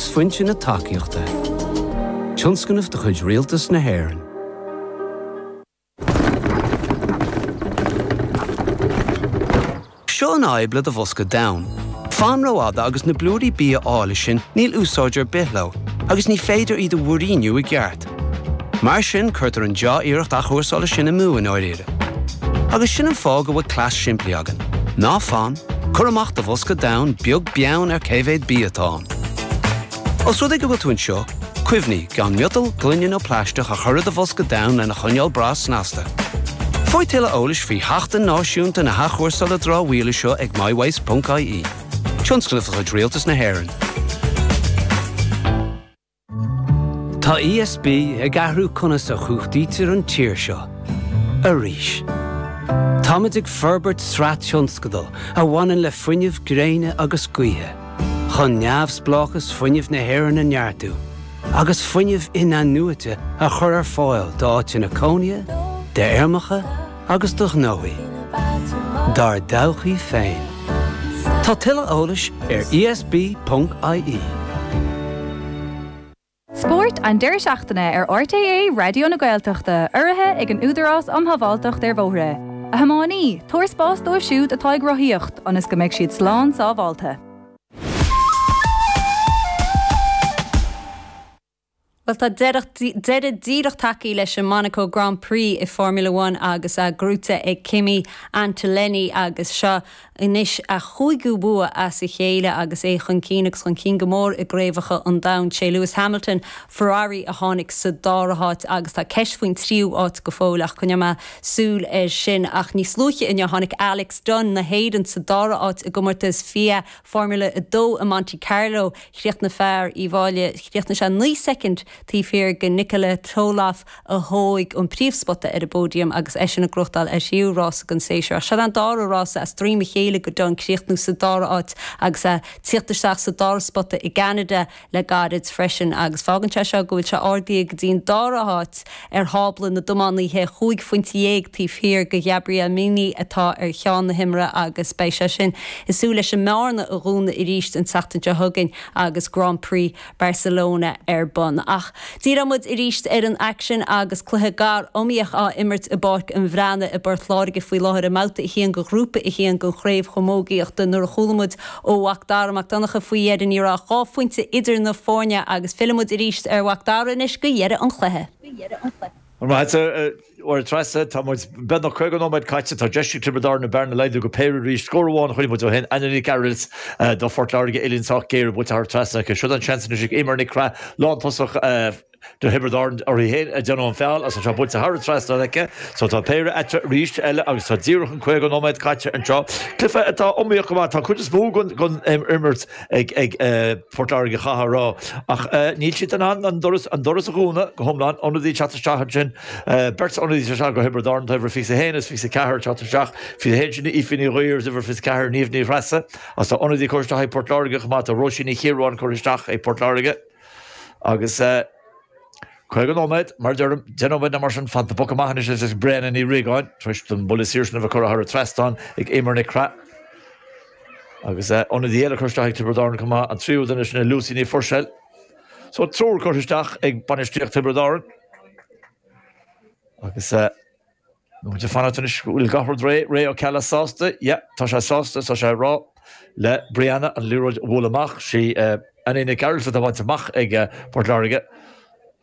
Túsphointe na tacaíochta. Tionscnamh de chuid Rialtas na hÉireann. Seo an fhadhb le do bhosca donn. Fan rófhada agus na blúirí bia áille sin níl úsáid ar bith leo agus ní féidir iad a mhúiríniú i gceart. Mar sin cuirtear an dea-iarracht athchúrsála sin amú i ndáiríre. Agus sin an fáth go bhfuil cleas simplí againn. Ná fan, cuir amach do bhosca donn beag beann ar cé mhéad bia atá ann. Os rud é go bhfuil tú anseo, cuimhnigh gan miotal, gloine nó plaisteach a chur i do bhosca donn lena choinneáil breá snasta. Faigh tuilleadh eolais faoi Sheachtain Náisiúnta na hAthchúrsála Dramhaíola seo ag mywaste.ie. Tionscnamh de chuid Rialtas na hÉireann. Tá ESB ag athrú conas a chumhachtaítear an tír seo. Arís. Táimid ag forbairt sraith tionscadal a bhaineann le fuinneamh gréine agus gaoithe. Chun neamhspleáchas fuinnimh na hÉireann a neartú agus fuinneamh in-athnuaite a chur ar fáil d'áiteanna cónaithe, d'fheirmeacha agus do ghnóthaí. Dár dtodhchaí féin. Tá tuilleadh eolais ar esb.ie. Spórt an deireadh seachtaine ar RTÉ Raidió na Gaeltachta, urraithe ag an Údarás um Shábháilteacht ar Bhóithre. A thiománaí, tabhair spás dóibh siúd atá ag rothaíocht, ionas go mbeidh siad slán sábháilte. Bhuel tá deireadh díreach tagtha leis an Monaco Grand Prix i Formula One agus é gnóite ag Kimi Antonelli agus seo anois a chúigiú bua as a chéile agus é chun cinn agus chun cinn go mór i gcraobhacha an domhain. Sé Lewis Hamilton, Ferrari, a tháinig sa dara háit agus tá ceist faoin tríú háit go fóill ach coinneoidh mé súil air sin. Ach níos luaithe inniu tháinig Alex Dunne na hÉireann sa dara háit i gcomórtas FIA Formula 2 i Monte Carlo. Chríochnaigh fear Uíbh Fhailí, chríochnaigh sé 9 soicind taobh thiar de Nikola Tsolov a thóg an príomhspota ar an bpóidiam agus eisean ag gnóthachtáil a thríú rása den séasúr. Ach seo an dara rása as droim a chéile do Dunne críochnú sa dara háit agus é tíocht isteach sa dara spota i gCeanada le gairid freisin agus fágann sé seo go bhfuil sé ardaithe go dtí an dara háit ar thábla na dtiománaithe, chúig phointe dhéag taobh thiar de Ghabriel Mini atá ar cheann na himeartha agus beidh sé sin ag súil leis an mbearna a dhúnadh arís an tseachtain seo chugainn agus Grand Prix Barcelona ar bun. Ach díreoidh muid arís ar an aicsean agus cluiche gar iomaíoch á imirt i bPáirc an Bhreathnaigh i bPort Láirge faoi láthair i mBabhta 1 de Ghrúpa 1 den Chraobh Chamógaíochta. Nuair a chuala muid ó Mhac Dara Mac Donncha faoi dheireadh ní raibh ach 2 phointe idir na foirne agus fillfidh muid arís ar Mhac Dara anois go dheireadh an chluiche. Maith agat, a Mháire Treasa. Tá muid beagnach 50 nóiméad caite. Tá deis ag Tiobraid Árann an bearna a laghdú go péire arís. Scór amháin a chaill muid ó shin. Anna Nic Gearailt do Phort Láirge, uillinn sách géar buailte thar an trasnán aici. Siod an seans anois ag Eimear Nic Craith, lántosach do Thiobraid Árann uirthi féin ag déanamh an feall agus tá sé buailte thar an trasnán aici. So tá péire eatarthu arís eile agus tá díreach an 50 nóiméad caite anseo. Cluiche atá iomaíoch go maith. Tá cuid is mó den imirt ag Port Láirge chaithfeá a rá. Ach níl siad in ann an doras a dhúnadh go hiomlán. Ionadaí ag teacht isteach ansin. Beirt ionadaí ag teacht isteach do Thiobraid Árann, tá uimhir 21 agus 24 ag teacht isteach. 21 sin Aoife Ní Ghuidhir agus uimhir 24 Niamh Ní Threasa. Agus tá ionadaí curtha isteach ag Port Láirge chomh maith. Tá Róisín Ní Chiaráin curtha isteach ag Port Láirge. Agus 50 nóiméad, mar a deirim, 10 nóiméad nó mar sin fanta. Poc amach anois ag Brianna Ní Riagáin tar éis don buille saor sin a bheith curtha thar an trasnán ag Eimear Nic Craith. Agus ionadaí eile curtha isteach ag Tiobraid Árann chomh maith, an tríú duine sin Lucy Ní Phuirséil. So triúr curtha isteach ag bainistíocht Thiobraid Árann. Agus muid ag fanacht anois go bhfuil gach rud réidh. Ray Ó Ceallaigh sásta? Yeah, tá sé sásta, tá sé ag rá le Brianna an liathróid a bhualadh amach. Sí Annie Nic Gearailt atá bainte amach ag Port Láirge.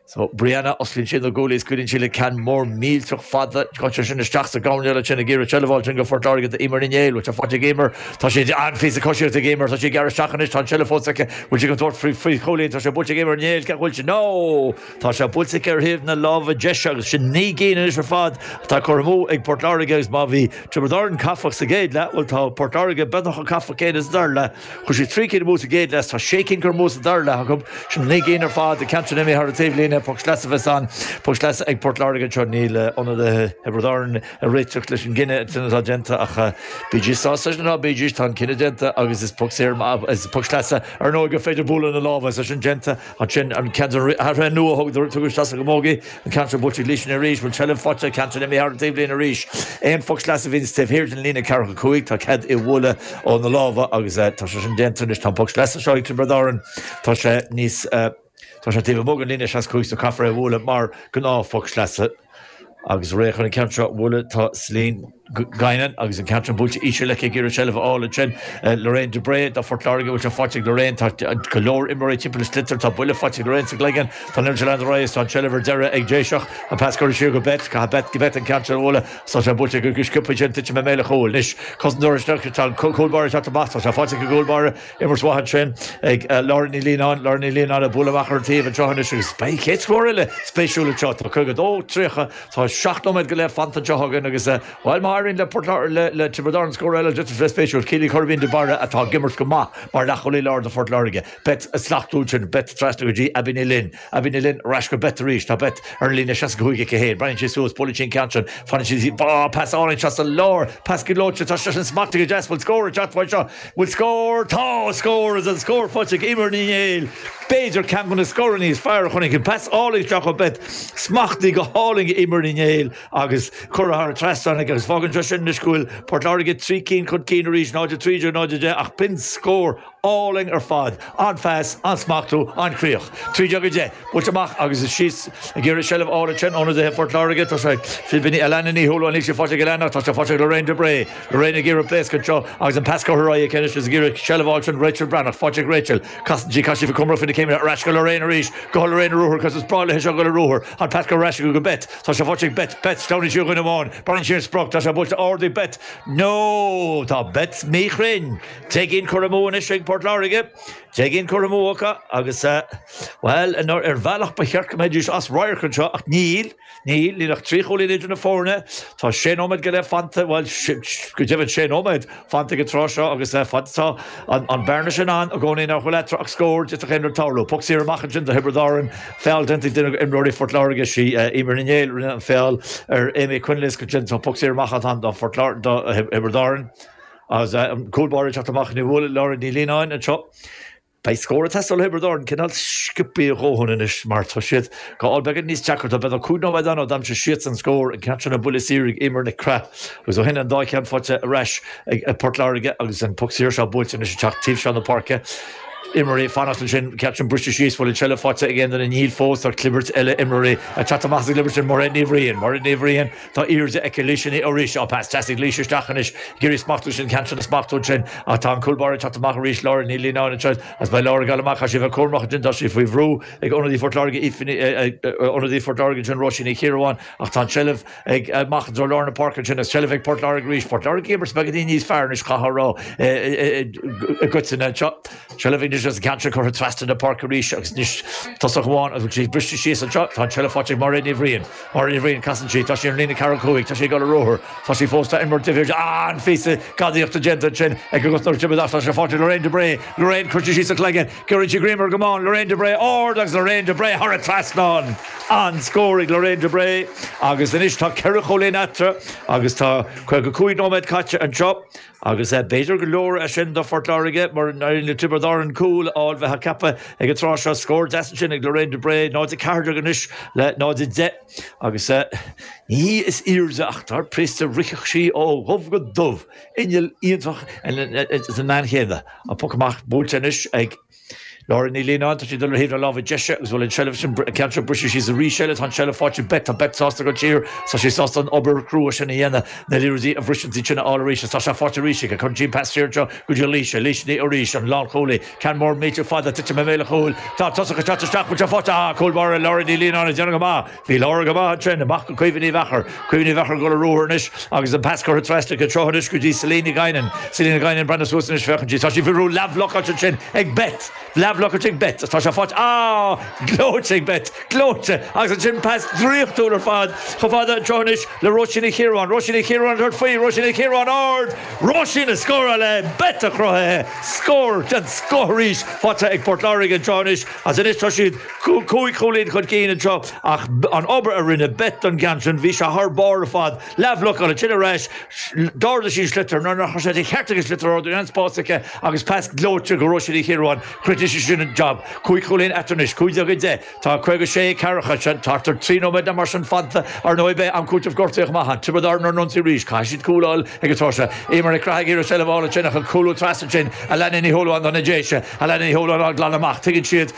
So, Brianna, osclaíonn sí na guaillí is scaoileann sí le ceann mór millteach fada. Gabhann sé sin isteach sa gcoirnéal ansin ag iarraidh seilbh a fháil ansin do Phort Láirge d'Emer Ní Néill. Bhfuil sé faighte ag Emer? Tá sé an-phíosa coisíochta ag Emer. Tá sí ag gearradh isteach anois. Tá an tseilbh fós aici. Bhfuil sí chun tabhairt faoi faoi chúilín? Tá sé buailte ag Emer Ní Néill. Cé bhfuil sé? No! Tá sé buailte aici ar thaobh na láimhe deise agus sin 9 gcinn anois ar fad atá curtha amú ag Port Láirge agus má bhí Tiobraid Árann caifeach sa gcéad leath, bhuel tá Port Láirge beagnach chomh caifeach céanna sa dara leath. Chuir siad 3 cinn amú sa gcéad leath, tá 6 cinn curtha amú sa dara leath acu. Sin 9 gcinn ar fad, an ceann sin imithe thar an taobhlíne. é, poc sleasa a bheas ann. Poc sleasa ag Port Láirge anseo. Níl ionadaithe Thiobraid Árann ag réiteach leis an gcinneadh sin atá déanta ach bídís sásta leis nó ná bídís, tá an cinneadh déanta agus is poc saor, is poc sleasa ar ndóigh gur féidir bualadh na lámha is é sin déanta ansin. An ceann de na hathruithe nua a tugadh isteach sa gcamógaí, an ceann seo buailte ag Laoise arís, bhfuil seilbh faighte, ceann sin imithe thar an taobhlíne arís. Aon phoc sleasa a bhíonns taobh thiar den líne ceathracha 5, tá cead é a bhualadh ó na lámha agus tá sé sin déanta anois. Tá an poc sleasa seo ag Tiobraid Árann, tá sé níos, tá sé taobh amuigh den líne 65 so caithfear é a bhualadh mar gnáth-phoc sleasa. Agus réidh chun an ceann seo a bhualadh tá Celine Guinan agus an ceann sin buailte íseal aici ag iarraidh seilbh a fháil ansin. Lorraine de Bré do Phort Láirge, bhfuil sé faighte ag Lorraine, tá go leor imreoirí timpeall an sliotar, tá buille faighte ag Lorraine sa gcloigeann, tá an liathróid ag leanacht ar aghaidh is tá an tseilbh ar deireadh ag Déiseach. An pas curtha siar go Beth, caithfidh Beth Beth an ceann seo a bhualadh, tá sé buailte go sciobtha ansin, titim i mbéal an chúil. Anois cosantóir isteach, tá an cúl báire ag teacht amach, tá sé faighte ag an gcúl báire. Imirt mhaith ansin ag Laura Ní Lionáin, Laura Ní Lionáin ag bualadh amach ar an taobh anseo anois agus beidh an chéad scór eile spéisiúil anseo. Tá 52, 30, tá 7 nóiméad go leith fanta anseo againn agus, bhuel, má éiríonn le Port Láirge, le Tiobraid Árann scór eile, d'fhéadfadh sé bheith spéisiúil. Keely Corbin de Barra atá ag imirt go maith mar leathchúlaí láir do Phort Láirge. Beth ag slachtú ansin, Beth trasna go dtí Abby Ní Fhloinn. Abby Ní Fhloinn ar ais go Beth arís. Tá Beth ar an líne 65 aici féin. Breathnaíonn sí suas, buaileann sí an ceann sin. Fanann sí, á, pas álainn isteach sa lár. Pas gleoite, tá sé sin smachtaithe go deas. Bhfuil scór ag teacht uaidh seo? Bhfuil scór? Tá scór! Is an scór faighte ag Eimear Ní Néill. B'fhéidir ceann de na scóranna is fearr a chonaic. An pas álainn isteach ó Beth. Smachtaithe go hálainn ag Eimear Ní Néill agus curtha thar an trasnán aici. Agus fágann sé sin anois go bhfuil Port Láirge 3 cinn chun cinn arís, 0-13, 0-10 ach b'in scór álainn ar fad. An-phas, an-smachtú, an-chríoch. 13-10. Buailte amach agus is síos ag iarraidh seilbh a fháil ansin ionadaithe Phort Láirge. Tá sé Philibíní Alana Ní Shúilleabháin, níl sé faighte ag Alana ach tá sé faighte ag Lorraine de Bré. Lorraine ag iarraidh pléascadh anseo agus an pas curtha ar aghaidh aici anois is ag iarraidh seilbh a fháil ansin Rachel Breathnach. Faighte ag Rachel. Casann sí, caithfidh sí bheith cúramach faoi na céimeanna. Ar ais go Lorraine arís. Go Lorraine ar ruathar agus is breá léi seo dul ar ruathar. An pas curtha ar ais aici go Beth. Tá sé faighte ag Beth. Beth, sleamhnaíonn sí ó dhuine amháin. Breathnaíonn sí ar an sprioc. Tá sé buailte ard ag Beth. No! Tá Beth míchruinn. 10 gcinn curtha amú anois ag Port Láirge. 10 gcinn curtha amú acu agus, bhuel, ar bhealach ba cheart go mbeidís as radharc anseo ach níl, níl, níl ach 3 chúilín idir na foirne. Tá sé nóiméad go leith fanta, bhuel, go deimhin sé nóiméad fanta ag an tráth seo agus fad atá an bearna sin ann i gcónaí nach bhfuil eatarthu ach scór, d'fhéadfadh aon rud tarlú. Poc saor amach ansin do Thiobraid Árann, feall déanta ag duine d'imreoirí Phort Láirge, sí Eimear Ní Néill a rinne an feall ar Amy Quinlisk ansin. Tá poc saor amach ann do Thiobraid Árann. Agus an cúl báire ag teacht amach ní bhuail Laura Ní Lionáin anseo. Beidh scór ag teastáil ó Thiobraid Árann cineál sciobtha a dhóthain anois mar tá siad ag fáil beagán níos deacra. Tá beagnach 5 nóiméad ann ó d'aimsigh siadsan scór, an ceann sin an buille saor ag Eimear Nic Craith agus ó shin an dá cheann faighte ar ais ag Port Láirge agus an poc saor seo buailte anois ag teacht taobh seo na páirce. Imreoirí ag fanacht ansin, ceann sin briste síos, bhfuil an tseilbh faighte ag aon duine? Níl fós, tá clibirt eile imreoirí ag teacht amach as an gclibirt sin, Mairéad Ní Bhriain, Mairéad Ní Bhriain. Tá airde aici Laoise Ní arís. Á, pas deas ag Laoise isteach anois. Ag iarraidh smachtú sin, ceann sin a smachtú ansin. Ach tá an cúl báire ag teacht amach arís, Laura Ní Lionáin anseo. Agus beidh Laura ag dul amach. Caithfidh sí a bheith cúramach ansin. Tá sí faoi bhrú ag ionadaí Phort Láirge, Aoife Ní, ionadaí Phort Láirge ansin, Róisín Ní Chiaráin. Ach tá an tseilbh ag amach i dtreo lár na páirce ansin. Agus seilbh ag Port Láirge arís. Port Láirge ag imirt beagáinín níos fearr anois, chaithfeá a rá, i gcoitinne anseo. Seilbh anois agus an ceann seo curtha trasna na páirce arís agus anois tosach amháin agus bhfuil sí briste síos anseo. Tá an tseilbh faighte ag Mairéad Ní Bhriain. Mairéad Ní Bhriain, casann sí, tá sí ar an líne ceathracha 5, tá sí ag dul ar ruathar, tá sí fós, tá imreoir taobh thiar di, an-phíosa gadaíochta déanta ansin ag an gcosantóir Tiobraid ach tá sé faighte ag Lorraine de Bré. Lorraine, cuirte síos a cloigeann, cuireann sí greim ar an gcamán, Lorraine de Bré ard agus Lorraine de Bré thar an trasnán! An-scór ag Lorraine de Bré agus anois tá ceithre chúilín eatarthu agus tá 55 nóiméad caite anseo. Agus b'fhéidir gur leor é sin do Phort Láirge mura n-éiríonn le Tiobraid Árann cúl a fháil bheifeá ag ceapadh ag an tráth seo. Scór deas ansin ag Lorraine de Bré, 0-14 anois le 0-10 agus ní hí is airde ach dar príosta rithfeadh sí ó dhubh go dubh. Inneall iontach sa mbean chéanna. An poc amach buailte anois ag. Laura Ní Lionáin, tá sí ag dul ar thaobh na láimhe deise agus bhfuil an tseilbh sin, an ceann seo briste síos arís eile, tá an tseilbh faighte ag Beth, tá Beth sásta dul siar, tá sí sásta an obair chrua sin a dhéanamh, na liathróidí a bhriseann siad sin a fháil arís agus tá sé faighte arís aici, cuireann sí an pas siar anseo go dtí Laoise, Laoise Ní arís, an lánchúlaí, ceann mór millteach fada, titim i mbéal an chúil, tá tosach ag teacht isteach, bhfuil sé faighte, ah, cúl báire Laura Ní Lionáin ag déanamh go maith. Bhí Laura go maith ansin, amach go Caoimhe Ní Mheachair. Caoimhe Ní Mheachair ag dul ar ruathar anois agus an pas curtha trasna aici anseo anois go dtí Selina Guinan. Selina Guinan ag breathnú suas anois, féachann sí, tá sí faoi bhrú, leathbhlocáilte ansin ag Beth! Leathbhlocáilte ag Beth. Tá sé faighte. Ah! Gleoite ag Beth. Gleoite! Agus ansin pas draíochtúil ar fad chomh fada anseo anois le Róisín Ní Chiaráin. Róisín Ní Chiaráin ag tabhairt faoi. Róisín Ní Chiaráin ard! Róisín ag scóráil é! Beth a chruthaithe! Scór den scoth arís faighte ag Port Láirge anseo anois agus anois tá siad cúig chúilín chun cinn anseo ach an obair a rinne Beth don gceann sin, bhí sé thar barr ar fad. Leathbhlocáil ansin ar ais, d'ardaigh sí an sliotar nuair nach raibh sé de cheart aici an sliotar a ardú, bhí an-spás aici agus pas gleoite go Róisín Ní Chiaráin, chríochnaigh sí sin an jab. Cúig chúilín eatarthu anois, 15-10, tá 56 ceathracha, sin thart ar 3 nóiméad nó mar sin fanta. Ar ndóigh beidh am cúitimh gortaithe chomh maith ann. Tiobraid Árann ar an ionsaí arís, caithfidh siad cúl a fháil ag an tráth seo. Eimear Nic Craith ag iarraidh seilbh a fháil ansin ach an cúlú trasna ansin, Alana Ní Shúilleabháin do na Déise, Alana Ní Shúilleabháin á glanadh amach, tuigeann siad.